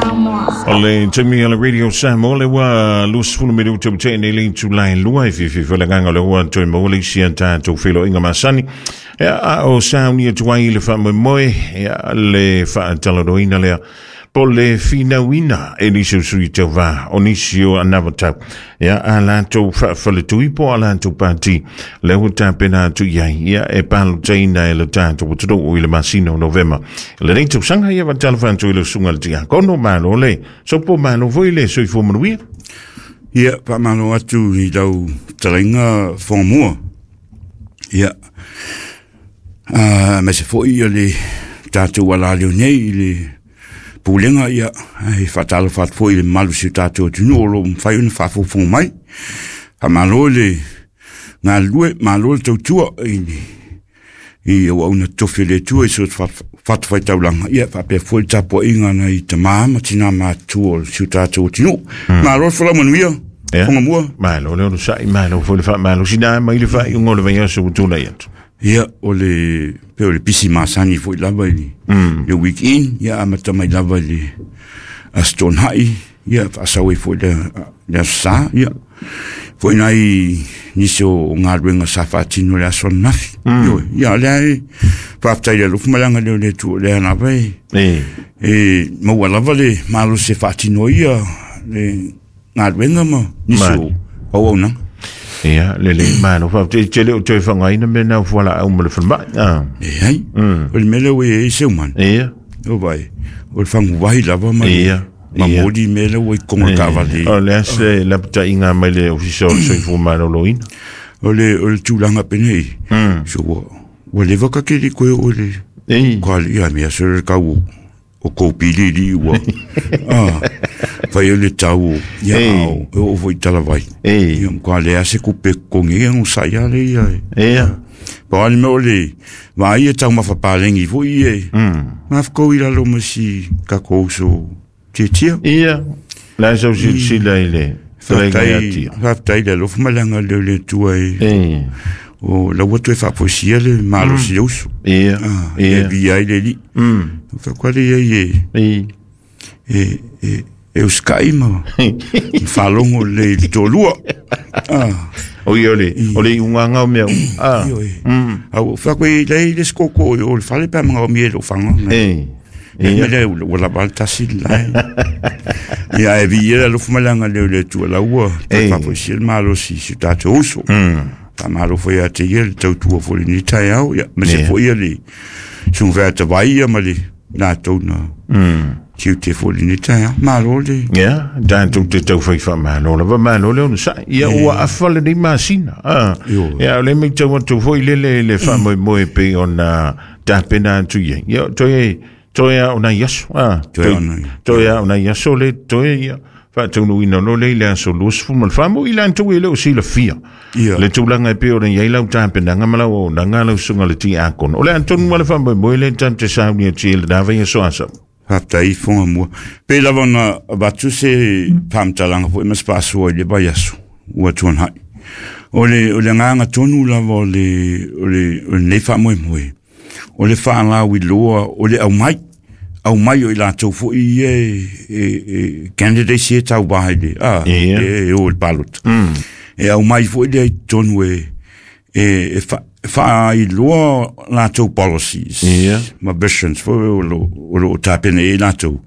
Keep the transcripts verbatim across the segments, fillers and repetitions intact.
Samoa. O le taimi o le Radio Samoa le ua luasefulu minute ua tea nei le itula e lua e fiafia foi le agaga o le ua toe maua le isi a tatou feiloaiga masani. Ia, a o sauni atu ai le faamoemoe, ia, le faatalanoaina lea po le finauina e nisi o sui tauvā o nisi o anavatau, ia, a latou faafaletui po a latou pati lea ua tapena atu i ai, ia, e palotaina e le tatou atunuu i le masina o Novema lenei tausaga. Ia, faatalofa atu i le susuga i le Tiakono, malo le sopo, malo foi le soifua manuia. Ia, faamalo atu i lau talaiga Fogamua. Ia, uh, aemaise foi ia le tatou alaleo nei i le pulega, ia, e faatalofa atu foi i le mamalu o si o tatou atunuu o lo o mafai ona faafogafoga mai. Faamalo le galulue, malo le tautua i le i auauna tofi o le Atua i so o se fatafaitaulaga, ia faapea foi le tapuaiga nai tama ma tina matutua o si o tatou atunuu. Malo le folau manuia, Ia. Fogamua. Malo le onosai, malo foi le faamalosina mai le faaiuga o le vaiaso ua tulai atu. Ia, o le pe o le pisi masani foi lava i le, le weekend, ia amata mai lava i le Aso Toonai, ia faasau ai foi le, le Aso Sa, ia foi nai nisi o galuega sa faatino le aso ananafi. Mm. Ia, lea e faafetai le alofa ma le agalelei o le Atua, lea lava e, E e maua lava le malosi e faatino ia le galuega ma nisi o auaunaga. Ia, lelei, malo, faafetai tele o toe faaaogaina mea na o fualaau ma le falemai. Ah. Leai, o le mea lea ua i ai Seumanu. Ia. O vai, o le faguvahi lava ma le Ia, ma ia. moli mea lea ua i totonu o le taavale. O le a se lapataiga mai le Ofisa o le Soifua Maloloina? O le o le tulaga penei. So ua ua leva ka keli koe o le E. kwa ia mea so le kau o kou pili li ua. Ah. Fai o le tau o ia Ei. ao e o foi talavai. E. Ia kwa le ase kupe kongi e ngusa ia le ia. Ia. Pa o le mea o le vaai e taumafa palegi foi e. Mm. Mafkou i lalo ma si kakou so tiatia. Ia. La sau silasila i le fetalaiga ia Faafetai, tia. faafetai le alofa ma le agalelei o le Atua e E. o laua toe faafoisia le malosi mm. uso. Ia. Ah, e Ia. via ai le alii. Mm. Faatoa le iai e E. e e e usikai ma ma faalogo lelei i le toalua. Ah, O ia o le o le iugaga o mea uma. Ah. ioe. Au faatoa i lei le sikoko o le fale pe a magaomia i lou faga. E. Ia Ia. le ua lava le tasi le lae. Ia e viia le alofa ma le agalelei o le Atua lau toe Ei. faafoisia le malosi i si o tatou uso. Faamalo foi ia te ia le tautua foi i lenei taeao, ia ma se Ia. foi ia le sugafeatavai ia ma le latou na tiute foi i lenei taeao. Malo le Ia, tatou te taufai faamalo lava, malo le onosai. Ia, ua afa lenei masina. Ah. Ioe. Ia, o le matau atu foi lele le faamoemoe pei ona tapena atu i ai. Ia, toe toe a o nai aso. Ah. Toe a o nai- Toe a o nai aso le toe ia faataunuuina loa lea i le aso luasefulu ma le fa mo i latou e le o silafia. Ia. Le tulaga e pei ona i ai lau tapenaga ma lau auaunaga lau susuga i le Tiakono. O le a tonu ma le faamoemoe lea tatou te saunia atu i lena vaiaso asa. Faafetai Fogamua. Pe lava ona avatu se faamatalaga foi ma se faasoa i le vaiaso ua tuanai. O le o le agaga tonu lava o le o le o lenei faamoemoe. O le faalauiloa o le aumai. Aumai o i latou foi ia e, e, e candidates ia tauvā i le a Ia. e, e o i le palota. E aumai foi lea i totonu e e, e fa, faailoa latou policies Ia. ma visions foi o lo o lo o tapena i ai latou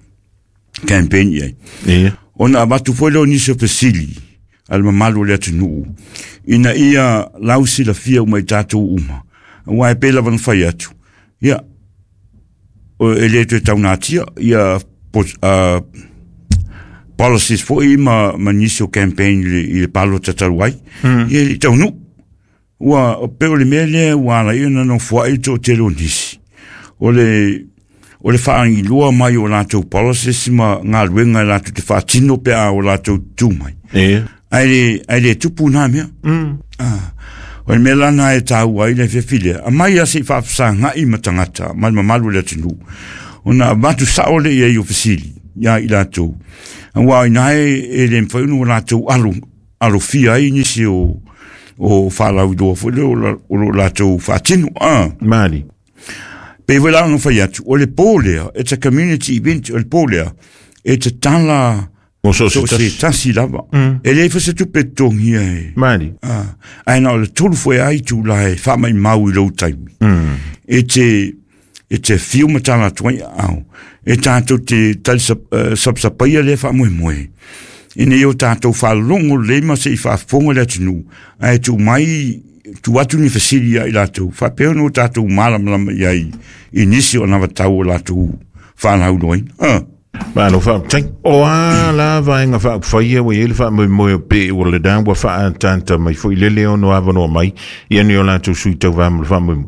campaign i ai. Ia. Ona avatu foi lea o nisi o fesili a le mamalu o le atunuu ina ia lausilafia uma i tatou uma. Aua e pei lava ona fai atu. Ia, o- e le toe taunatia ia po, uh, policies foi ma, ma nisi o campaign i le, i le palota talu ai. Mm. Ia e le i taunuu. Ua, o pe o le mea lea ua ala ai ona nofoai le toatele o nisi. O le, o le faagiloa mai o latou policies ma galuega e latou te faatino pe a o latou tu mai. Ia. Ae le, ae le tupu nā mea. Mm. Ah, o le mea la na e tāua ai le fiafi lea. Aumai lava se i faafesagai ma tagata, ma le mamalu o le atunuu. Ona avatu sao lea i ai o fesili ia i latou. Aua ina e, e le mafai ona o latou alo, alofia ai nisi o, o faalauiloa foi lea o la- o lo latou faatino. Ah. Mali. Pe foi la ona fai atu, o le pō lea, it's a community event, o le pō lea, E te tala Mo so so se tasi lava. E le fase tupe totogia e. Mali. Ah, ai na o le tolu foi ai tu la e wha mai mau i lou taimi. Mm. E te, e te fiu matala tuai au. E tātou te tali sap, uh, sapsapaia le wha moe moe. Ina i o tātou whalongo le ma se i whaafonga le atunu. Ai tu mai, tu atu ni fasili ia i lātou. Whapeo no tātou malamalama i ai i nisi o nawa tau o lātou whanau noin. Ah. Malo whaatai. O a la vaenga whaapwhaia wa ele wha moe moe o pe o le dan wa wha tanta mai fo i lele ono awanoa mai ia ni o lātou sui tau wā mo le wha moe.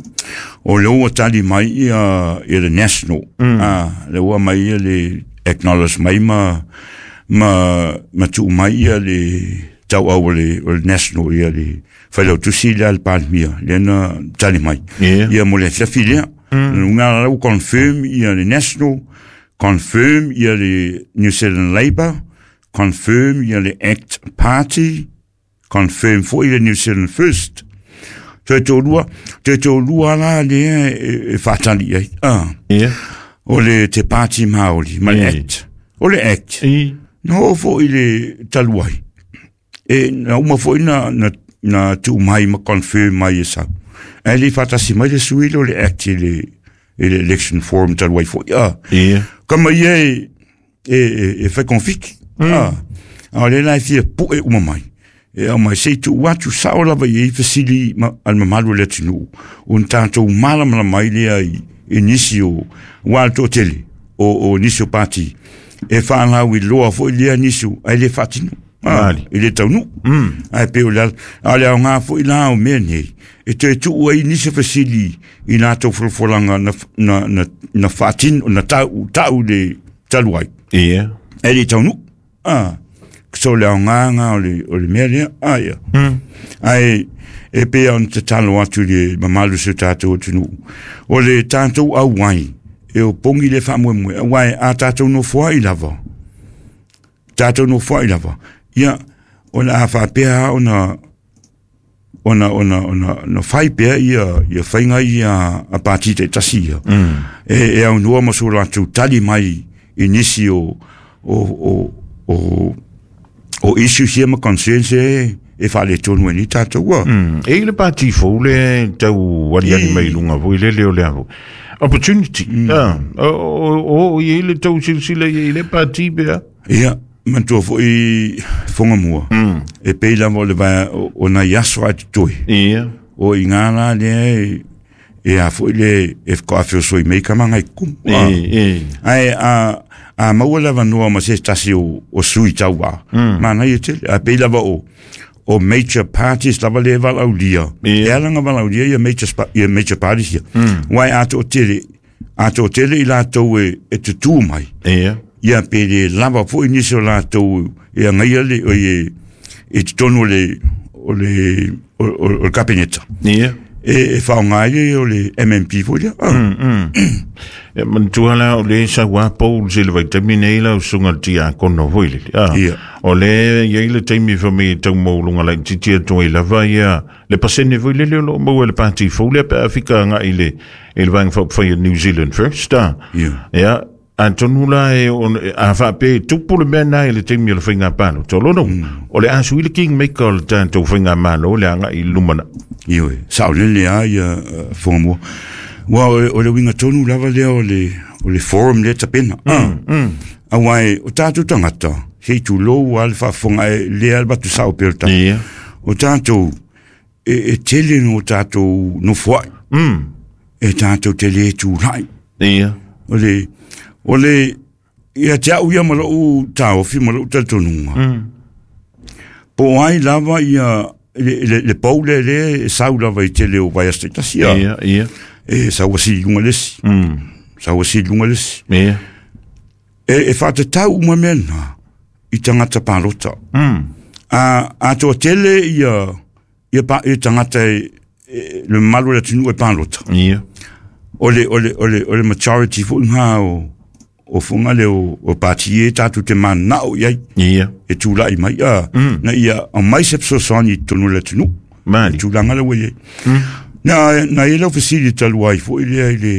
O le ua tali mai ia, ia le national. Mm. Ah, le ua mai ia le acknowledge mai ma, ma, ma tuu mai ia le tau au o le, o le national ia le whailautusi le al palmia. Le na tali mai. Yeah. Ia mo le fiafi lea. Mm. Nga lau confirm ia le national, confirm ia le New Zealand Labour, confirm ia le Act Party, confirm foi le New Zealand First. Toe tō toe tō lua la le e, e whātali ai. Ah. Yeah. O le te Pāti Māori, ma le Yeah. Act. O le Act. I. No foi le taluai. E na uma foi na, na, na tuu mai ma confirm mai e sau. E le whātasi mai le sui le o le Act i le, i le election forum taluai foi. Ah. Yeah. Kama ia e, e, e, e whai konfiki. Mm. Ah. A le lai fia po e uma mai. E au mai sei tu atu sao lava i e fasili ma, al mamalu le atunu. Un tātou malamala mai lea i, i nisi o wāl tō tele o, o nisi o pāti. E whanau i loa foi lea nisi o ai le whatinu. Ah, Mali. i le taunu. Mm. Ai pe o le al, a le au ngā foi la o mea nei. E te tuu ai nisi fasili i lātou folafolanga na, na, na, na whatinu, na tau, tau le talu ai. Yeah. E le taunu. Ah. So le au ngā ngā o le, o le mea lea. Ah, ia. Mm. Ai, e pea on te talo atu le mamalu se tātou atunu. O le tātou au wai, e o pongi le whamoemoe, au wai a tātou no foa i lava. Tātou no foa i lava. Ia, o le a whapea ona, ona, ona, ona, ona whai pea ia, ia whainga ia a pāti te tasi ia. Mm. E, e au noa maso lātou tali mai i nisi o, o, o, o, o issues ia ma concerns e, e whale tonu e ni tātou ua. Mm. E le pāti fou le tau wali I. mai lunga fo i lele o le aho. Opportunity. Mm. Ah. O, o, o, i le tau silsila i le pāti pea. Ia, mantua foi whonga mua. Mm. E pei lava o le vai o, o nai aso ai te toi. Ia. O i ngā la le e, e a foi le e whakawhio soi mei ka mangai kumu. E, e. Ai, a, a maua lava noa ma se tasi o, o sui tauā. Mm. Mana i tele. A pei lava o, o major parties lava le valaulia. Ia. E alanga valaulia ia major, spa, ia major parties ia. Mm. Wai a tō tele, a tō tele i lātou e, e te tū mai. Ia. Ia pe le lava foi nisi o lātou e angaia le, o e, e te tonu o le, o le, o, o, o le kapeneta. Ia. E, e whaonga ai o le M M P foi lea. Ah. Mm, mm. E mantua la o le sa wa Paul se le vaitaimi nei la o sunga le tia kono foi le. Ah. Ia. O le ia i le taimi fa me tau maulunga la titi atu i lava ia le pasene foi le le o maua le pāti fou le pe Afrika nga i le i le vang fa fa New Zealand First. Ah. Ia. Ia. Antonu la e on, a fa pe tupu le mea nai le taimi o le whainga pālo. Tō lono, o le asu i le King Maker o le tātou whainga mālo le anga i lumana. Io e, sao le le a ia uh, whangamua. Wa o, o le winga tonu lava lea o le, o le forum le tapena. Mm, mm. A wai, o tātou tangata, hei tu lou a le whaafonga e le al batu sao pe o tātou. Ia. O tātou, e, e tele no tātou no fuai. Mm. E tātou te le tū lai. Ia. O le, o le, ia te au ia malo tāofi, malo talitonunga. Mm. Po ai lava ia, le, le, le pau le le, e sau lava i tele o vai asti tasi ia. Ia, ia. E sau asi lunga lesi. Mm. Sau asi lunga lesi. Ia. E, e whātatau uma mea nā, i tangata pālota. Mm. A, a toa tele ia, ia, pa, ia tangata e, e, le malo le tunu e pālota. Ia. O le, o le, o le, o le majority fo ngā o, o fonga le o, o pāti e tātou te manao iai. Ia. E tūlai mai a. Mm. Na ia, o mai se psosani tonu le tunu. Mali. E tūlanga le wei. Mm. Na, na e lau fesili talu ai fo i lea i le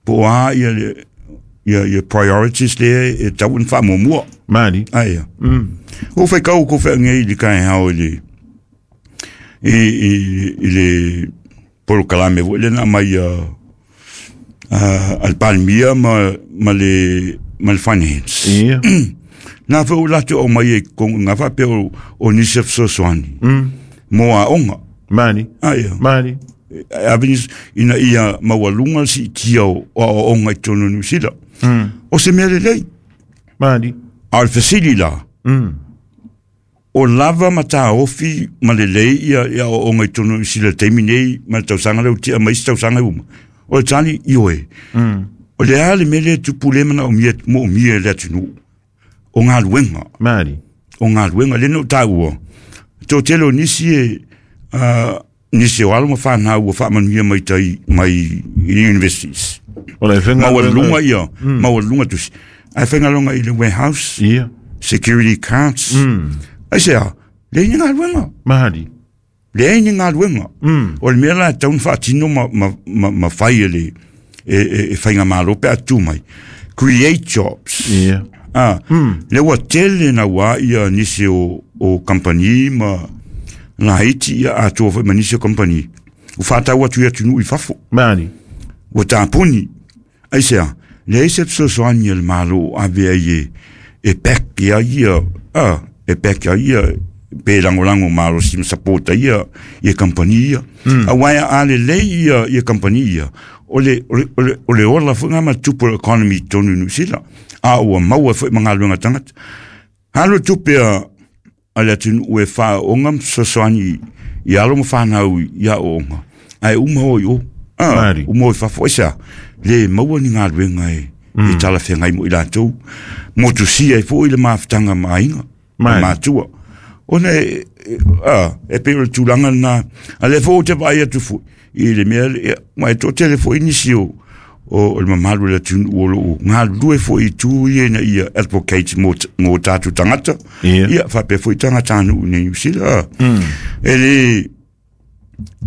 po a ia le, ia ia priorities le e tau na faamuamua. Mali. Aia. O fai kau ko whaangai i le kai hao i le i, i, i le polokalame foi le na mai a a le Palemia ma ma le ma le finance. Ia. Nā wha o latu o mai e kongu ngā whapea o, o nisi fesoasoani. Mm. Mō a onga. Mali. Aia. Mali. Avenis ina ia maualuga le siitia o aoaoga i totonu o Niu Sila. Mm. O se mea lelei. Mali. A o le fesili la. Mm. O lava ma tāofi ma lelei ia ia aoaoga i totonu o Niu Sila i le taimi nei ma le tausaga lea ua ti'a mai isi tausaga e uma. O le tali i oe. Mm. O le a le mea lea e tupu lea manaomia moomia e le atunuu. O galuega. Mali. O galuega lea na ou taua. Toatele o nisi e uh, nisi o alo ma whanau ua faamanuia mai tai mai i universities. O le whenga Maualuga ia, maualuga tusi. Ae faigaluega i le warehouse, Ia. security cards. Mm. Ai se a, leai ni galuega. Mali. Leai ni galuega. Mm. O le mea la e tatau ona faatino ma, ma, ma, ma fai e le e, e, e faigamalo pe a tu mai. Create jobs. Ia. Ah, mm. Le ua tele na ua ia nisi o, o company ma laiti ia atoa foi ma nisi o company. Ua faatau atu i atunuu i fafo. Mali. Ua tapuni. Ai se a, leai se fesoasoani a le Malo o ave ai e, e back ia ia, ah, e back ia ia, pe lagolago malosi ma sapota ia, ia company ia. Mm. Auā a lelei ia, ia company ia, o le, o le, o le, o le ola foi ngā ma tupu o le economy i totonu o Niu Sila. A ua maua foi ma galuega tagata. Alo tupe a, a le atunuu e faaooga ma fesoasoani i alo ma whanau i aooga. Ae uma hoi o. Ah, Mari. uma hoi fafo. Ai se a, le maua ni galuega e, mm. e talafeagai mo i latou. Motusia ai foi le mafutaga ma aiga, ma Mari. matua. Ona e, e, a, e pei o le tulaga lena. A lea foi ou te vaai atu foi i le mea, ia, ma e toatele foi nisi o, o, o le mamalu o le atunuu o loo galulue foi i itu ia ina ia advocate mo, mo tatou tagata. Ia. Ia, faapea foi tagatanuu i Niu Sila. Mm. E le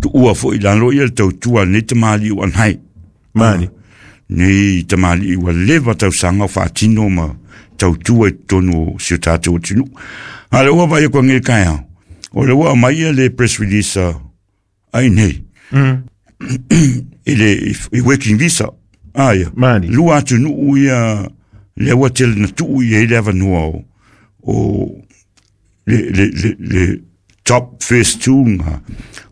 tuua foi i lalo ia le tautua a lenei tamalii ua anai. Mali. Nei tamalii ua leva tausaga o faatino ma tautua i totonu o si o tatou atunuu. A le ua vaai aku age i le taeao, o le ua aumai ia le press release a ai nei. Mm. I le i working visa. Aia. Mali. Lua atunuu ia lea ua tele na tuu i ai le avanoa o, o le, le, le, le top first two nga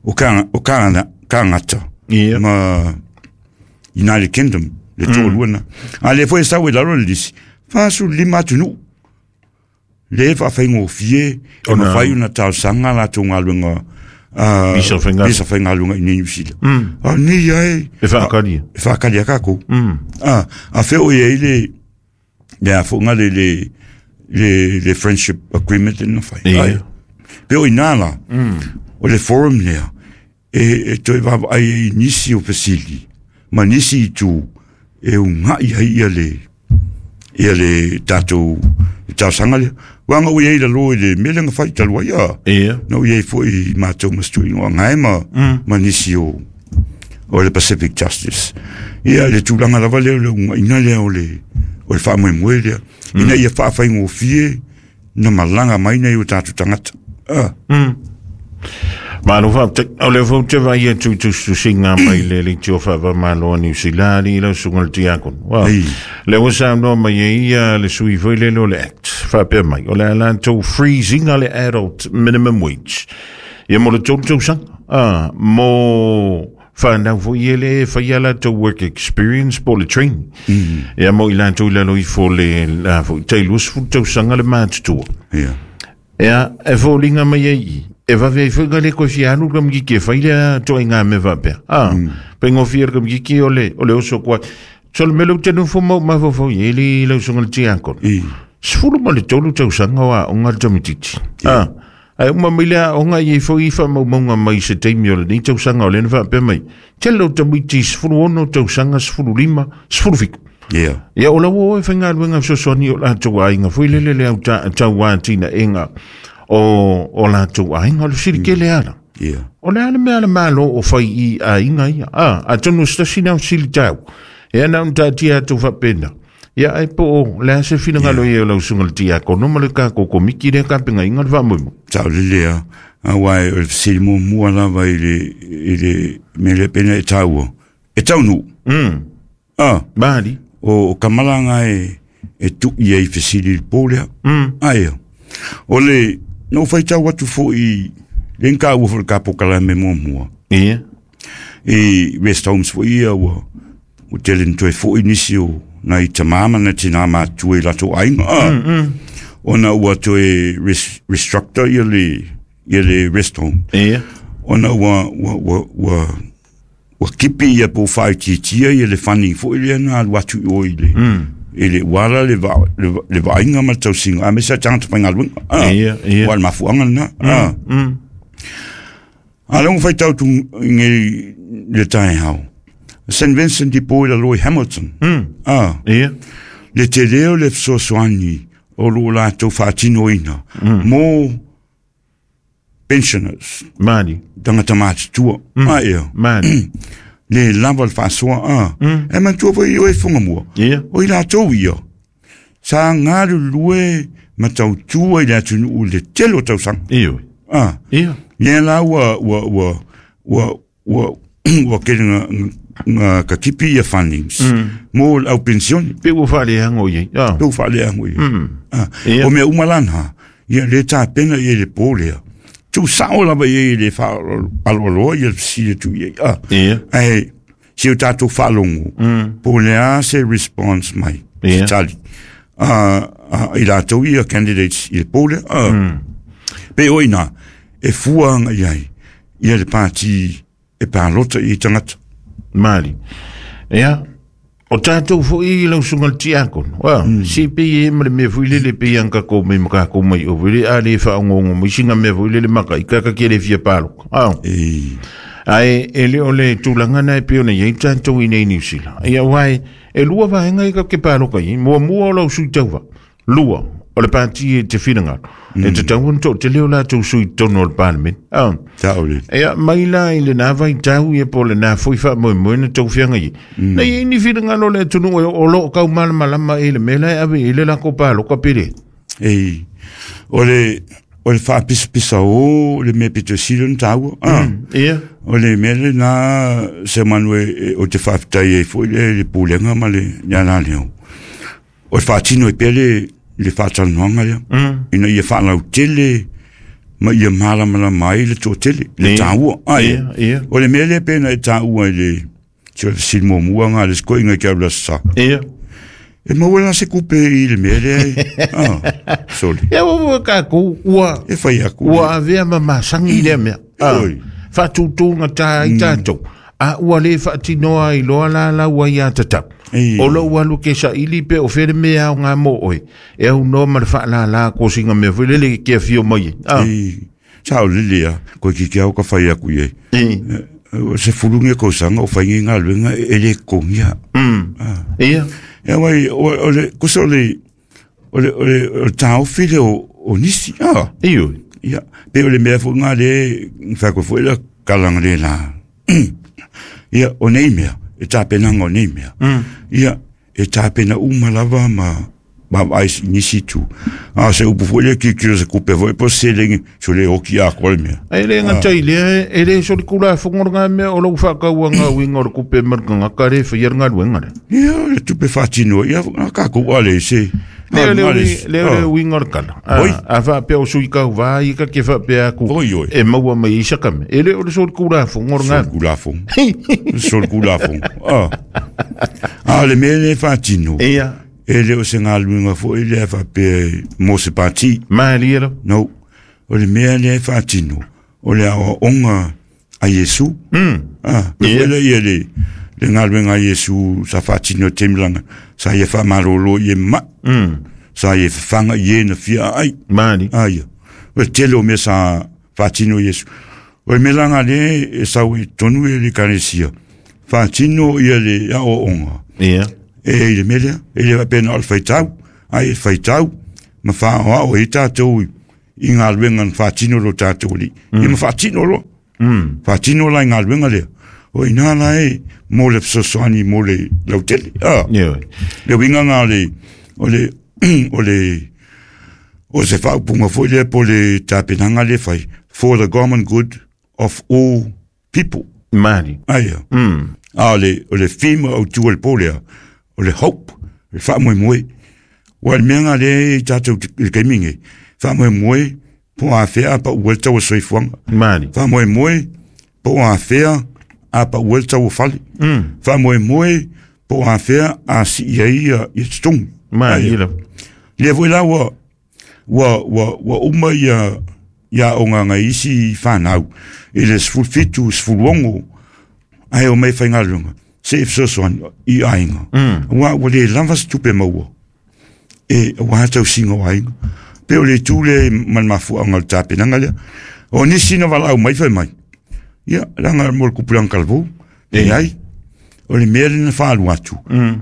o Ka- o Kanada, Kangata Ia. ma United Kingdom le toalua na. A lea foi e sau i lalo le lisi, fasefululima atunuu. Le faafaigofie e Ona- mafai ona talosaga latou galuega uh, Visa faigaluega. visa faigaluega i nei Niu Sila. Mm. A nei ai E whaakaria. e faakali a kākou. Mm. Ah, a fea o i ai le le afoga le le le le friendship agreement le na fai. Ia. Ai. Pe o inā la. O le forum lea e e toe vaavaai ai i nisi o fesili ma nisi itu e uga'i ai ia le ia le tatou talosaga lea. Uaga ua iai lalō i le mea lea na fai talu ai a. Ia. Na ua iai foi i matou ma se tuuaiga o agae ma, ma nisi o o le Pacific Justice. Ia le tulaga lava lea o le uga'ina lea o le o le faamoemoe lea. Ina ia faafaigofie na malaga mai nei o tatou tagata. Ah, Malo whaapte, o le fau te vai atu tusitusiga mai le le tio whaapa malo a Niu Silali i lau sunga le tiakon. Wa, Ei. le ua sa noa mai e ia le sui foi le lo le act, whaapea mai. O le ala tau freezing a le adult minimum wage. Ia mo le tolu tausaga. Ah, mo whanau foi e le whai ala tau work experience po le training. Mm. Ia mo i latou i lalo ifo le la foi tai luasefulu tausaga le matutua. ia. Ea, e fōlinga mai ai i. E vave ai foi le koe fia alu ka mkiki e whai lea toa i ngā me wapea. Ah, mm. Pengo fia ka mkiki o le, o le oso kua. So le mele te nufo mau mafofo i eli lau songa le tiakon. I. Sefulu ma le tolu tausaga o aoga le tamaitiiti. Ah, ae uma mai le aoga i foi i faamaumauga mai se taimi o lenei tausaga o lea na faapea mai. Tele o tamaiti sefulu ono tausaga, sefulu lima, sefulu fitu. Ia. Ia o lau o e whaingaluenga fesoasoani o latou aiga foi lele le au ta, tau ātina enga o, o latou aiga o le silikele ala. Ia. O le ale mea le malo o whai i aiga ia. Ah, a tonu se tasi nau sili tau. E ana un tātia atu whapena. Ia ai po le ase finagalo ia o lau suga le tiakono ma le kako komiti lea kapegaiga le faamoemoe. Sao lelei a auā o le fesili muamua lava i le i le mea lea pena e taua e taunuu. Mm. A mali o, o kamalaga e e tu'i ai fesili i le pō lea. Mm. Aia o le na ou faitau atu fo'i le gakaua foi le kapokalame muamua. Ia i rest homes fo'i ia ua ua tele na toe fo'i nisi o nai tamā ma nai tinā matua i latou aiga a. Mm, mm. Ona ua toe res, restructure ia le ia le rest home. Ia ona ua ua ua ua ua kipi ia po faaitiitia ia le funding fo'i lea na alu atu i o i le mm. i le uala le va le, le vaaiga ma le tausiga aemaise a tagata faigaluega a. Ia ia ua le mafuaaga lena a. Mm. A lea ua faitau tu i le taeao Saint Vincent de Paul i lalō i Hamilton. Mm. A ia le telē o le fesoasoani o loo latou faatinoina mm. mo pensioners mali tagata matutua. Mm. A ia mali le lava le faasoa a. Mm. E manatua foi o e fugamua ia o i latou ia sa galulue ma tautua i le atunuu i le tele o tausaga. Io a ia lea la ua ua ua ua ua ua kele nga nga kakipi ia fundings Mm. mo le au pensione pe ua faaleago iai a. pe ua faaleago ia. Mm. Ah, Ia. o mea uma lana ia le tapena ia le pō lea tuusao lava ia i le faaaloaloa ia le fesili atu i ai a. Ia Ae si o tatou faalogo mm. po o le a se response mai Ia. se tali a i latou ia candidates i le pō lea a. Mm. Pe o ina e fua aga i ai ia le pati e palota i tagata. Mali. Ia, o tātou foi i lau suga le tiakono. Wa, Mm. si pe e ma le mea foi lele pe ian kako mai ma kako mai o vele a le whaongongo mai singa mea foi lele maka i kaka ke le fia paloka. Au. E Ai, e le o le tūlanga nai pe ona iei tātou i nei New Zealand. Ia wai, e lua vaenga i ka ke paloka i, mua mua o lau sui tauva. Lua, o le pāti e te whinanga. Mm. E te tau to te leo lātou sui tono o le parliament. Au. sao le Ia, mai la i le nā vai tau ia po le nā foi wha moe moe na tau whianga i. Mm. Nei i ni whinanga lo le tunu e o lo kau malamalama i le mela e ave i le lako paloka pere. E o le o le faapisapisa o le mea pitosili ona taua a. Mm. Ia, O le mea lenā se manu e e- o te faafetai ai fo'i le le pulega ma le le alaleo o le faatino ai pea le le faatalanoaga lea mm. ina ia faalautele ma ia malamalama ai le toatele le Ia. taua ai. Ia, ia, O le mea lea pe na e taua i le se o le fesili muamua ga le sekoiga i ke au le aso sa ia. e maua la se kupe i le mea lea e ah, sole Ia ua ua kākou, ua, e fai aku ua avea ma masangi i lea mea. Ah, Oi. Whaatūtūnga tā i tātou. A ua le whaatinoa i loa la la ua i a tatau. Ei. O lo ua lu ke sa ili pe o where mea au ngā mō oe. E au noa ma le whaalala ko singa mea fwe lele ke whio mai. Ah. E sao lele a koe ki ke au ka fai aku i ai E. O se fulungi e kausaga o faiga i galuega e lē totogia. Mm. Ia. E wai o o le kusa o le o le o le o le taofi le o o nisi a. Iyo. Ia pe o le mea fo'i ga le fakoe fo'i la kalaga le la. Ia o nei mea e tapenaga o nei mea. Mm. Ia e tapena uma lava ma ma vaai i nisi itu. A o se upu fo'i lea kilikilo se kupe fo'i po o se selegi so le oki atoa le mea. Ai le ngā tai lea, e le so le kula whongoro ngā mea o lau whakau ngā winga o le kupe marka ngā kare whai ar ngā luenga le. Ia o le tupe faatino ia a kākou ale se Leo leo ale wi- leo leo winga o le kala. Oi. A, a whaapea o sui kau vā i ka ke whaapea aku Oi, oi. e maua mai i sakame. E le o le so le kula whongoro ngā. Sol kulafogo. Sol kulafogo. Ah. A le mea le faatino. Ia, E le o se galuega fo'i lea faapea mo se pati. maali ero. No. O le mea lea e faatino. O le aoaoga a Iesu. Mm. Ah, le Ia. foi lea ia le le galuega a Iesu sa faatino i temilaga. Sa ia faamalōlō i e ma'i. Mm. Sa ia fafaga i e na fia aai. Maali. Ah, ia. O le tele o mea sa faatino i Iesu. O le mea laga lea e sau i tonu e le ekalesia. Faatino ia le aoaoga. Ia. E i le mea lea, e le faapea na o le faitau, ai e faitau, ma faaoao ai tatou i i galuega na faatino lo tatou alii. Ia ma faatino loa. Mm. Faatino la i galuega lea. O ina la e mo le fesoasoani mo le lautele. Ah. Ioe. Le uiga na o le o le o le o se faaupuga foi lea po le tapenaga le fai for the common good of all people. Mali. Aia. Mm. A o le o le theme autū o le po lea, o le hope, le faamoemoe. Ua le mea ga lea i tatou i le taimi nei, faamoemoe po o afea a paua le tau o soifuaga. Mali. Faamoemoe po o afea a paua le tau o fale. Mm. Faamoemoe po o afea a sii ai ia ia totogi. Mali Aia. lava. Lea foi la ua ua ua ua uma ia ia aoga a isi fanau i le sefulu fitu sefulu ono ae o mai faigaluega se i fesoasoani i aiga. Mm. Auā ua lē lava se tupe maua e auā tausiga o aiga. Pe o le itu lea ma le mafuaaga o le tapenaga lea. O nisi na valaau mai fai mai, ia leaga mo le kupulaga talavou, leai, o le mea lea na faalu atu, Mm.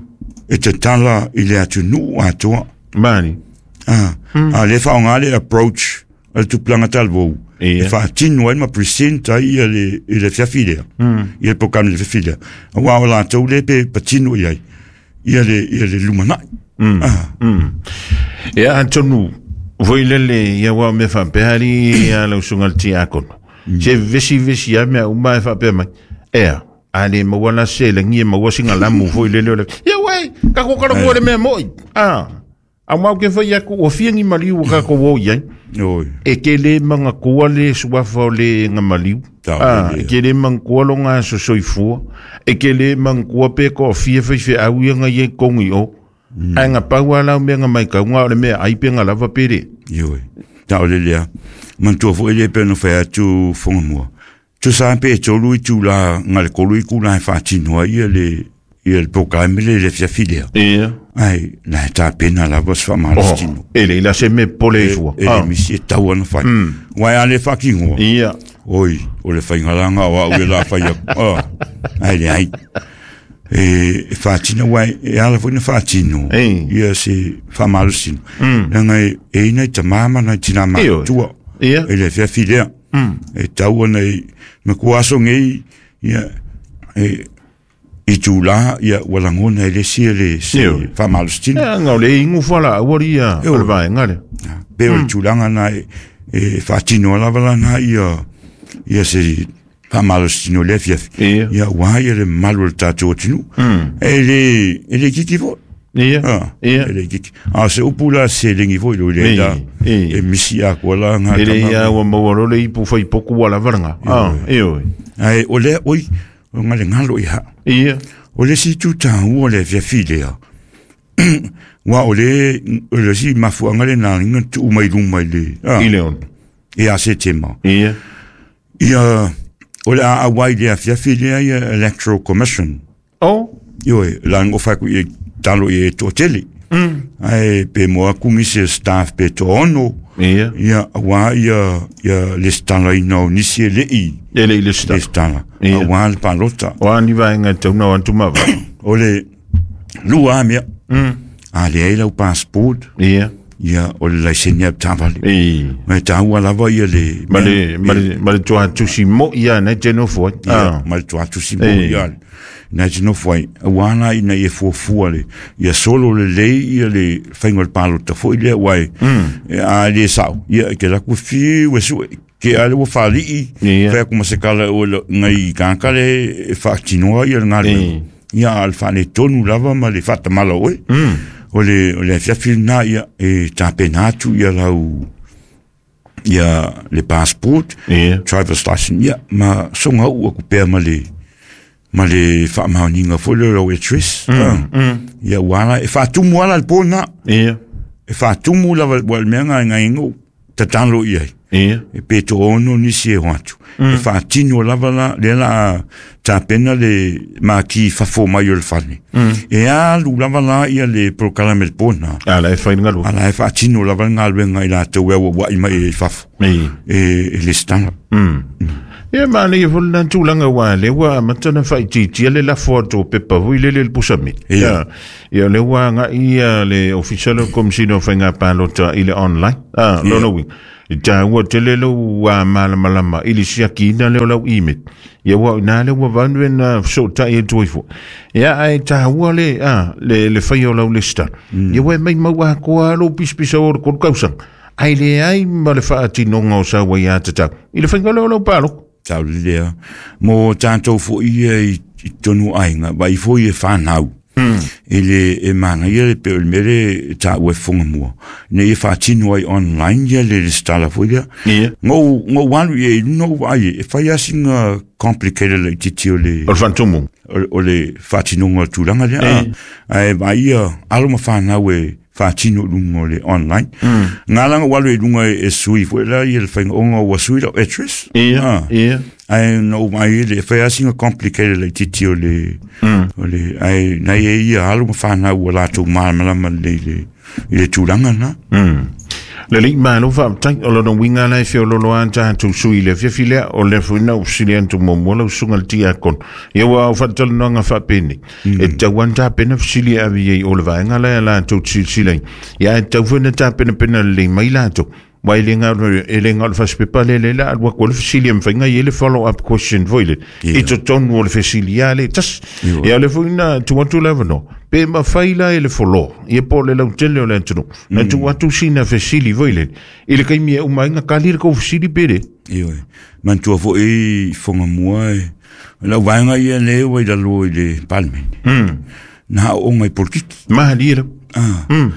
e tatala i le atunuu atoa. Mali. Ah, a le faaaoga le approach a le tupulaga talavou Ia. e faatino ai ma present ai ia le i le fiafi lea. Mm. Ia le polokalame i le fiafi lea. Auā o latou lea pe patino i ai ia le ia le lumanai. Mm. Ah, Mm. Ia atonu foi lele ia ua mea faapea ali ia lau susuga le tiakono. Se vesi vesi a mea uma e faapea mai. Ea, a le maua la selagi e maua sina lamu foi lele o le. Ia uai, kako karakoa le mea moi. Ah. A mau ke fai aku o fia ni maliu o kako o iai. oi. E ke le mangakoa le suafa o le nga maliu. Tau Ah, le e ke le mangakoa lo ngā sosoifua. E ke le mangakoa pe ko fia fai fe au ia nga ye kongi o. Ai nga pau ala o mea nga mai kau ngā o le mea ai pe nga lava pere. Ioe. Tau le lea. Manatua foi lea pe ona fai atu Fogamua. Tusa pe e tolu itulā ga le kolu itulā e faatino ai ia le ia le polokalame le le fiafi lea. Ia. Ai la e tapena lava se Oh, faamalositino. e le ila se me pole i fua. E le misi e tau ana fai. Uae a le faakigoa. Ia. Oi, o le faigalaga o au e la fai aku. Ah, ai leai. E, e faatina uae e ala foi na faatino. Ei. Ia se faamalositino. Leaga e e i nai tamā ma nai tinā Ioe. matutua. Ia. E le fiafi lea. E tau ana i ma kua aso nei ia e itulā ia ua lagona e le isi e le se Ioe. faamalositino. Ia nga o le ingu fala awari ia o le vaenga le. Pe o le tulaga na e, e faatino lava lana ia ia se faamalositino lea fiafi. Ia. Ia uā ia le mamalu o le tatou atunuu. E le e le kiki foi. Ia. Ah, Ia. e le kiki. A o se upu la selegi foi lo le Ei, la ei. e misi akoa la ga E le tama. ia ua maua lo le ipu fai poku wala varanga. Ah, ioe. Ae o lea oi o ga le galo i haa. Ia. O le isi itu tāua o le fiafi lea. Uā o le o le isi mafuaaga lenā na tuu mai luma i le ah, I le ono. ia Setema. Ia. Ia o le a auai le afiafi lea ia Electoral Commission. Oh. Ioe, la ngo fai ku i talo i e toatele. Mm. Ai pe mo aku nisi e staff pe to ono. Ia. Ia auā ia ia lesitala ina o nisi e lei E le i le sta. lesitala. Ia. Auā le palota. O ani vaenga e tauna o antu mawa. O le lua a mea. Mm. A le ai lau passport. Ia. Ia o le laiseni a tavale. I. Ma e tāua lava ia le Ma le, ma le, ma le tua tusi mo ia nei te nofo ai. ia Ah. ma le tuatusi mo Ei. ia na te nofo ai auā la ina ia fuafua le ia solo lelei ia le faiga o le palota foi lea uae e a le sa'o ia e ke laku fiu e su'e ke a le ua faalii Ia. fai aku ma se kala o le ngai kāka le e faatinoa ia le galuega Ei. ia a le faaletonu lava ma le faatamala oe Mm. o le o le afiafi lenā ia e tapena atu ia lau ia le passport Ia. driver's license ia ma soga uu aku pea ma le ma le faamaoniga foi lea o lau address mm, Mm. ia ua ala e faatumu ala le pona Ia. e faatumu lava ua le mea gaegaega o tatalo i ai Ia. e pe to'ono nisi e o atu e faatino lava la lea la tapena le maki fafo mai o le fale e alu lava la ia le polokalame le pona Ala e whai ngalua. ala e faatino lava le galuega i latou e auaua'i mai e fafo I. e, e lesitala Mm. Ia manaia foi lena tulaga uā lea ua amata ona faaitiitia le lafo atu o pepa foi lele i le pusa miti. Ia. Ia lea ua agai ia le ofisa lea o le Komesina o Faiga Palota i le online. Ah, lona uiga e taua tele lou malamalama i le siakiina lea o lau email. Ia ua ina lea ua vanu na fesootai atu ai foi. Ia ae taua le ah, le le faia o lau lesitala. Ia ua e maumau atoa lou pisapisa o le tolu tausaga. Ae leai ma le faatinoga o sau ai atatau i le faiga lea o lau palota. Tau lea. Mo tātou foi ia i, i tonu aiga, vai foi e whanau. Mm. I le e manaia le pe o le mea le tāua e whonga mua. Ne i whaatino ai online ia le lesitala foi lea. Ia. Ngou, ngou alu ia i luna o ai e whai asinga complicated le titi o le O le faatumu. o, o le whaatinonga o tūlanga lea. E. Ai vai ia alo ma whanau e whaatino lunga o le online. Mm. Ngā langa walu e lunga e, e sui foi la ia le whainga onga ua sui lau address. Ia, Ah. ia. Ai no mai le whai asinga complicated le titi o le Mm. o le ai nei e ia alo ma whanau ua lātou malamalama le le i le tūlanga na. Mm. Le lei malo faafetai o lona uiga lae feololo a tatou sui i le afiafi lea o le foi na ufesili atu muamua lau susuga le tiakono. Ia ua o faatalanoaga faapenei e tatau lava ona tapena fesili e ave i ai o le vaega lae a latou te silasila ai. Ia ae tatau foi ona tapenapena lelei mai latou. Ua e le gao e le gao le fasipepa lea lea la alu atu ai le fesili e mafai ona i ai le follow up question foi lele i totonu o le fesili a le tasi. Ia o le foi na tuu atu le avanoa pe mafai la e le follow ia po o le lautele o le atunuu na tuu atu sina fesili foi lele i le taimi e uma ai na kali le kou fesili pe le. Ioe. Manatua foi i whonga mua e lau vaega ia le ua i lalo i le parliament. Mm. Na o ngai polokiki. Mahalie lau. Ah. Mm.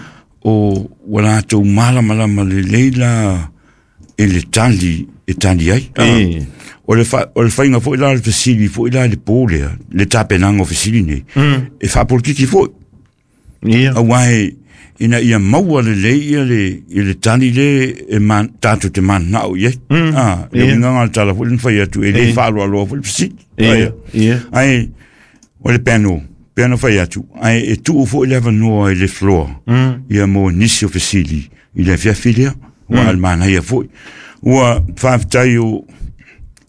O ua latou malamalama lelei la i le tali e tali ai. Ah. E. O le, fa, o le whainga foi la le fesili foi la le pō lea, le tapenaga o fesili nei. Mm. E faapolitiki foi. Ia. Auā e ina ia maua lelei ia le, i le tali le e man, tātou te mananao i ai. Mm. Ah, le Ia. uiga le tala foi le na fai atu, e le E. faaloaloa foi le fesili. Ia. Aia. Ia. Ai, o le piano, piano fai atu, ai e tuu foi le avanoa i le floor. Mm. Ia mo nisi o fesili i le afiafi lea, ua mm. manaia foi. Ua faafetai o,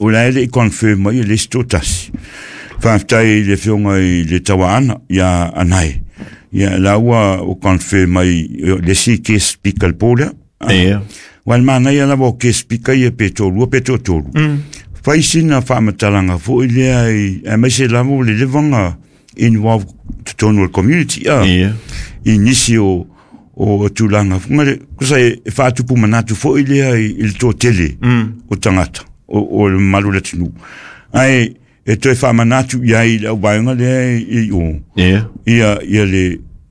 o la ele i confirm mai e le isi tasi. Faafetai i le afioga i le Tauaana ia Anae. Ia la ua o confirm mai e, le isi guest speaker le pō lea. Ah. Ia. Ua le manaia lava o guest speaker ia pe tōlua pe tōtolu. Mm. Fai sina faamatalaga foi lea i aemaise lava o le levaga involve totonu o le community ah. Ia. I nisi o o tulaga funga le kusa e e faatupu manatu foi lea i, i le toatele Mm. o tagata o, o le mamalu o le atunuu ae e toe faamanatu i ai i le auvaega lea i, i o Ia. ia ia le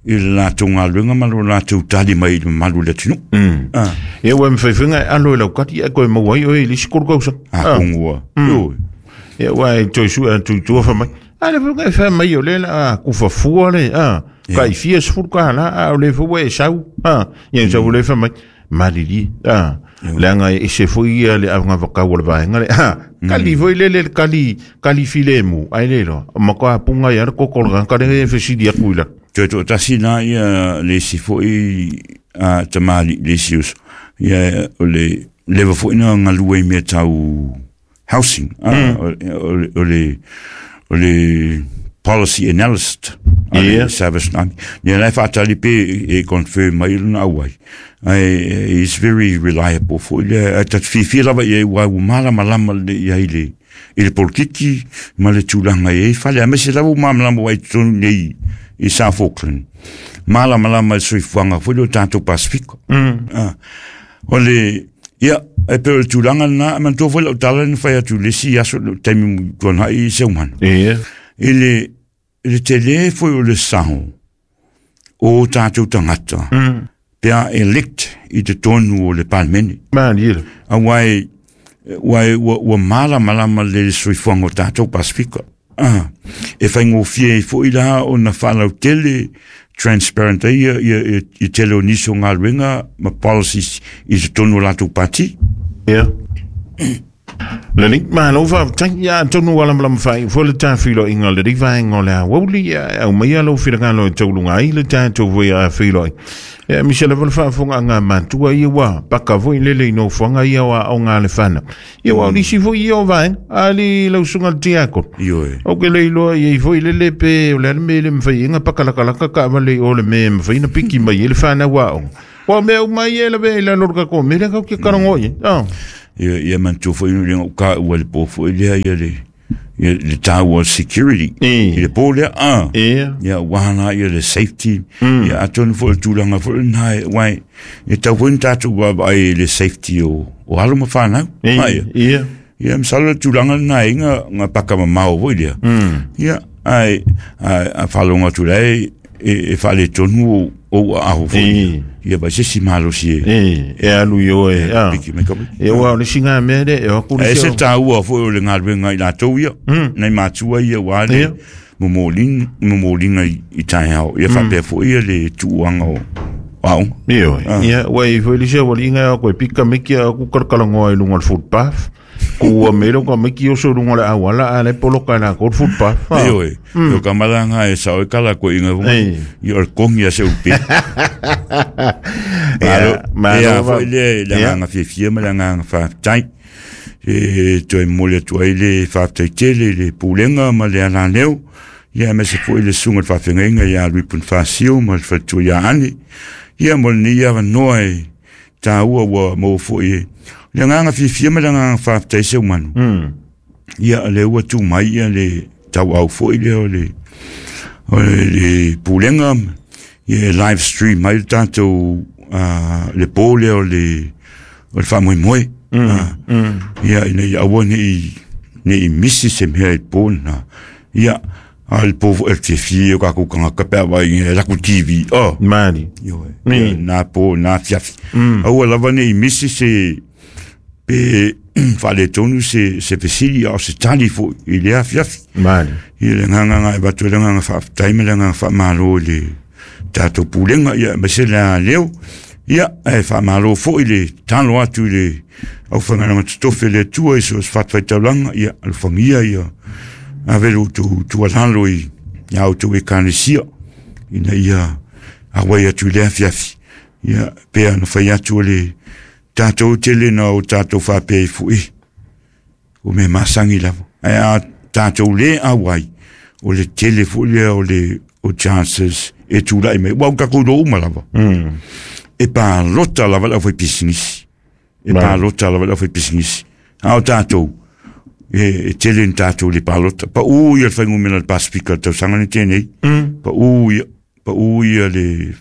i le latou galuega ma lo latou tali mai i le mamalu o le atunuu. Mm. Ah, Ia ua mafai foi ona e alo i lau kati ae koe maua ai oe i le isi tolu tausaga. a kongua ioe. Ia ua e toe sue atu i tua fai mai. A le foi e fai mai o le la a kufafua le a kai fia sefulu kālā a o le foi ua e sau a ia sau le fai mai malilie a leaga e ese foi ia le avagavakau o le vaega le a kali foi lele le kali kali filemu ai le loa matua punga ia le koko o le tagata lea e fesili atu i la. Toe toatasi la ia le isi foi a tamali'i le isi uso ia o le leva foi na galue i mea tau housing ah, o, o, le- o le o le policy analyst a le Ia. Service Nami. Ia la e faatali pe e confirm mai lona auai. Ai is very reliable foi lea. Ai tatu fiafia lava i ai ua ua malamalama le i ai le i le polokiki ma le tulaga i ai fale. Aemaise lava ua malamalama ai totonu nei i South Auckland. Malamalama i le soifuaga foi le o tatou Pasifika. Mm. Ah. O le ia e pe o le tulaga lena, manatua foi lau tala na fai atu i le isi aso le taimi tuanai i Seumanu. Ia. I le i le tele foi o le sao o tatou tagata Mm. pe a elect i totonu o le palemene. Malie le. Auā e ua e ua, ua malamalama le soifuaga o tatou Pasifika. Ah, e faigofie ai foi la ona faalautele transparent ai ia, ia, ia, i tele o nisi o galuega ma policies i totonu o latou pati. Ia. Lelei, malo faafetai ia atonu ua lamalama faaiu foi le tafiloaiga o lenei vaega o le aoauli ia e aumaia lou finagalo e tauluga ai le tatou foi a filoai. E misa lava le faafofogaaga a matua ia ua paka foi lele i nofoaga ia o aoga a le fanau. Ia ua o nisi foi ia o vaega ali lau susuga le tiakono. Ioe. O ke le iloa iai foi lele pe o le a le mea e le mafai ai ona paka lakalaka taavale i o le mea e mafai ona piki mai ai le fanau aoga. Ua o mea uma ia e lavea i lalo o le tatou mea lea tatou te talanoa i ai. Ah. Ia, ia manatua foi le ou taua i le po foi lea ia le ia le taua o le security E. i le po lea a. Ia. Ia ua la ia le safety ia atonu foi le tulaga foi lena e uai e tau foi ni tatou vaavaai i le safety o o alo ma fanau. E. Ai, Ia. ia masalo le tulaga lena e nga nga paka mamao foi lea. Ia ai ai a faalogo atu lai e e faaletonu o o aaho foi. E. Ia vai se si malosi e E, e alu i o e. Ah. piki mai ka mai. E ua o le singa mea le e o aku le E se sio. taua foi o le galuega i latou ia, nai matua ia ua le Ia. momolin momoliga i, i taeao. Ia faapea foi ia le tuuaga o o aoga. Ioe. Ia, ua i foi le sia wali inga o koe pika miki a ku kalakalangoa i lunga o le footpath. Ku ua mele ka miki oso lunga o le awala a le poloka na ko le footpath. Ah. Ioe, o ka malaga e sao e kala koe inga foi. Ei. Ia o le kongi a se upe. Ia, Malo, ia malo va- foi le le Ia. agaga fiafia ma le agaga faafetai. E toe momoli atu ai le faafetai tele i le pulega ma le alaleo. Ia aemaise foi le susuga i le faafeagaiga ia Lui Ponifasio ma le faletua ia Ane. Ia mo lenei avanoa e taua ua maua foi e le agaga fiafia ma le agaga faafetai se umanu. Ia le ua tu mai ia le tauau foi lea o le o le, le pulega ia e live stream mai le tatou uh, le po lea o le o le faamoemoe. Ah, ia ina ia aua nei nei misi se mea i le po lena. Ia a le po foi e fiafia o kākou tagata pe a vaai e laku T V oh. Mali. Ioe. Ia, na po na fiafi. Aua lava nei misi se pe faaletonu se se fesili a o se tali foi i lea afiafi. Mali. Ia le agaga e avatu ai le agaga faafetai ma le agaga faamalo i le tatou pulega ia aemaise le aleo. Ia e faamalo foi le talo atu i le aufaigaluega totofi a le Atua i so o se fatafaitaulaga ia alofagia ia ave lo outou tuualalo i ia outou ekalesia ina ia auai atu i le afiafi. Ia pea ona fai atu o le tatou tele na o tatou faapea i fo'i o mea masagi lava. Ae a tatou le auai o le tele foi lea o le o chances e tulai mai. Ua o tatou iloa uma lava. E palota lava le aufaipisinisi. E Mai. palota lava le aufaipisinisi. A o tatou e, e tele ni tatou le palota. Pau ia le faigumela le Pasifika le tausaga nei tenei. Pau ia pau ia le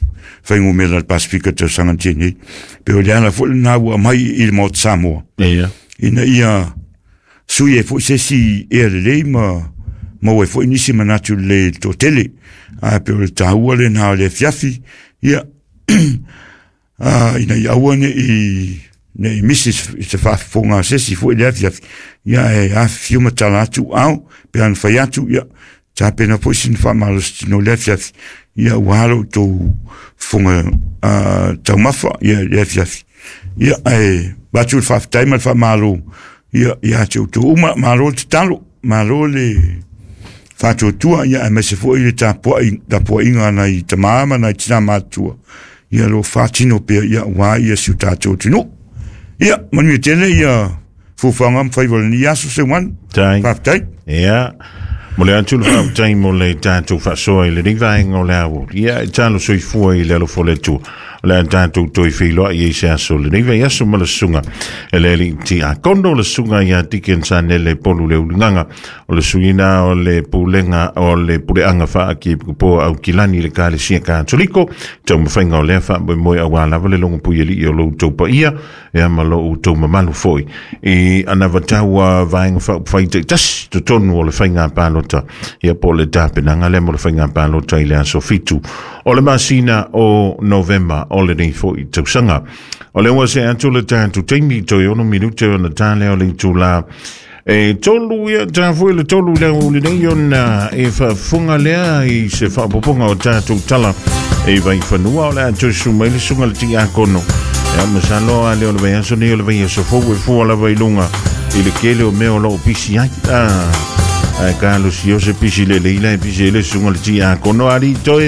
faigumela le Pasifika le tausaga nei. Pe o le ala foi lena ua aumai i le Maota Samoa. Ia. Ina ia sui e foi se isi ea lelei ma maua ai foi nisi manatu lelei i le toatele. Ae pe o le taua lena o le afiafi, ia ah, ina ia aua nei nei misi se faafofoga a se isi foi le afiafi. Ia e afifio ma tala atu ao, pe ana fai atu, ia tapena foi sina faamalositino le afiafi. Ia ua alo outou fofoga ah, taumafa ia le afiafi. Ia e avatu le faafetai ma le faamalo ia ia te outou uma, malo le tatalo, malo le faatuatua, ia aemaise foi le tapuai tapuaiga a nai tamā ma nai tinā matutua. Ia lo faatino pea ia ua ia si o tatou atunuu. Ia manuia tele ia fuafuaga ma faiva o lenei aso Seumanu. Tai. Faafetai. Ia. Mo le atu le faafetai mo le tatou faasoa i lenei vaega o le aoauli. Ia, e talo soifua i le alofa o le Atua. O le a tatou toe feiloai ai se aso lenei vaiaso ma le susuga e le alii tiakono o le susuga ia Deacon Sanele Polu le Uligaga o le suiina o le pulega o le puleaga faakiepoa au kilani le Ekalesia Katoliko taumafaiga o lea faamoemoe auā lava le logopui alii o lo outou paia ia ma lo outou mamalu foi i anavatau vaega faaupufai taitasi totonu o le faiga palota ia po o le tapenaga lea mo le faiga palota i le aso fitu o le masina o Novema o lenei foi tausaga. O le ua se atu le tatou taimi toe ono minute ona tā lea o le itulā e tolu ia tā foi le tolu lea o lenei ona e faafofoga lea i se faapopoga o tatou tala e vaifanua o le a toe susu mai le susuga le tiakono. Ia masalo a lea o le vaiaso nei o le vaiaso fou e fua lava i luga i le kele o mea o loo pisi ai. Ah, ae kalosi o se pisi lelei la e pisi ai le susuga le tiakono ali toe